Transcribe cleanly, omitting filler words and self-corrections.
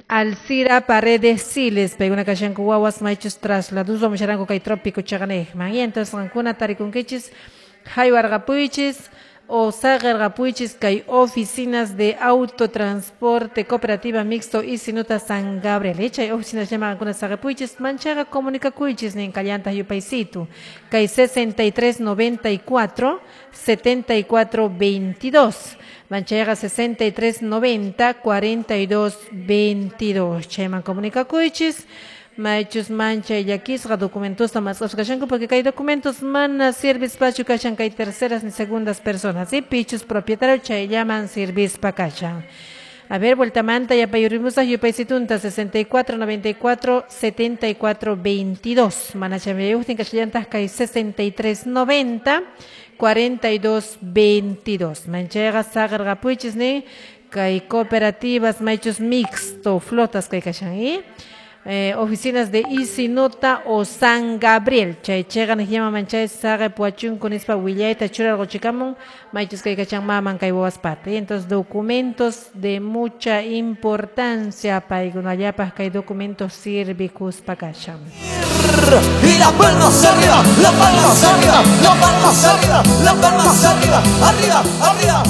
Alcira Paredes Siles, paykuna kashanku wawas maychus trasladuspa musharanku kay trópico chaqanejman. Y entonces qankuna tarikunkichis haywarqapuychis o saqirqapuychis kay oficinas de autotransporte cooperativa mixto Isinuta San Gabriel. Chay oficinas llama qankuna saqipuychis manchaqa comunicakuychis nin kallanta yupaysitu. Kay 63 94 74 22. Manchayqa 63 90 42 22. Chayman comunicakuychis. Maychus manchay llakisqa documentosta masqasqa kashanku porque kay documentos mana sirvispachu kashan kay terceras ni segundas personas, ¿sí? Pichus propietario chayllaman sirvispa kashan. A ver, vueltamanta yapayurimusaq yupaysitunta 64 94 74 22. Mana chaymayuqtin kashallantaq kay 63 90 42 22. Manchayqa saqirqapuychis ni kay cooperativas maychus mixto flotas kay kashan, ¿eh? Oficinas de Isinota o San Gabriel. Chay chegan llama manchay saqe puachunku nispa willayta churarquchikamun maychus kay kachan maman kay wawaspata. Entonces documentos de mucha importancia paykunallapaq kay documentos sirvikuspa kashan. Y las palmas arriba, las palmas arriba, las palmas arriba, las palmas arriba, arriba, arriba.